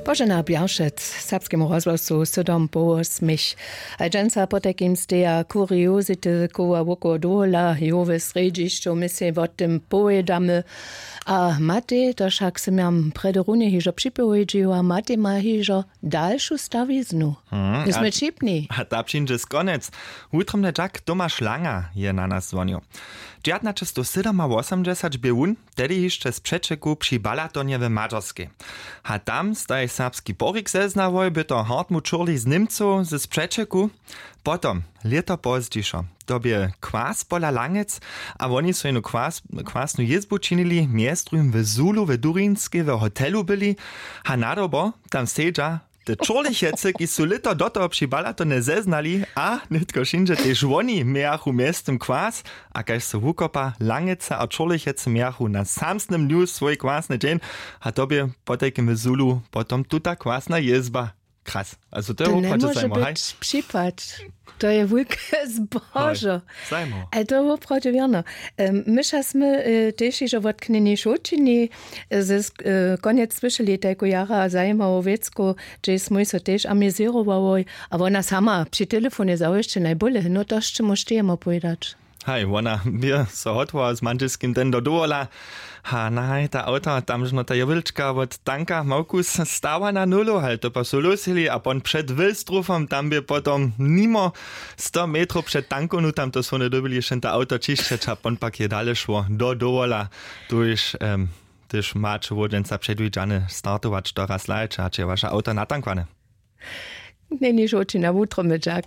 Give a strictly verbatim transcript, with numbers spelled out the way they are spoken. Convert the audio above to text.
Božena Bjaršec, serbskemu rozhłosu sydom po wosmich. A dźensa potajkim steja kuriozity koła wokoło dowola, jowe srjedźišćow my sej wo tym powědamy. A matej, to wšak sym jam prjedy runje hižo připowědźiła, matej ma hižo dalšu stawiznu. My smy wšipni. A ta přińdźe skonjec. Wutrobnje dźak, Tomaš Langa je na nas zwonił. Dźewjatnaćestowsydomawosomdźesać bě wón tehdy hišće z přećeku při Balatonje w Madźerskej. A tam staj serbski porik zeznałoj, by to Hartmut Šurli z Němcow z přećeku. Potom, lěto pozdźišo, to bě kwas pola Langec, a woni su jenu kwas, kwasnu jězbu činili, mjez druhim w Zulu w Durinskej w hotelu byli, a nadobo tam sedźa te Čurlichecy, ki su lěto do toho při Balatonje zeznali, a nětko wšinźe tež woni mějachu mjeztym kwas, a kaž so wukopa, Langeca a Čurlichecy mějachu na samsnym dnju swój kwasny dźeń, a to bě potajkim w Zulu potom tuta kwasna jězba. Kras. Also to je To woprawdźe njemóže zajimo, haj? Być připad. To je wulke zbožo. Zajimo. E, to je woprawdźe wěrno. Em, my ša smy e, tež hižo wot knjeni Šołćini, e, z, e, konjec słyšeli tajku jara zajimawu wěcku, hdźež smój so tež amizěrowałoj, a wona sama při telefonje zawěsće najbóle, no to sće móž ty jemu powědać. Haj, wona bě so hotowała z mandźelskim den do dowola. A nahaj, ta awto, tamžno ta jewilčka wot tanka Małkus stała na nulu, haj, to pa su lósili, a pon před Wilstrufom, tam bě potom nimo sto metrow před tankownu, tam to su wone dyrbili šen ta awto ćišćeć, a pon pak je dale šło do dowola. Tuž em, tež maće wodźenca předwidźane startować, to raz hlajće, hač je waše awto natankwane. Njeni žołći na wutro, my dźak.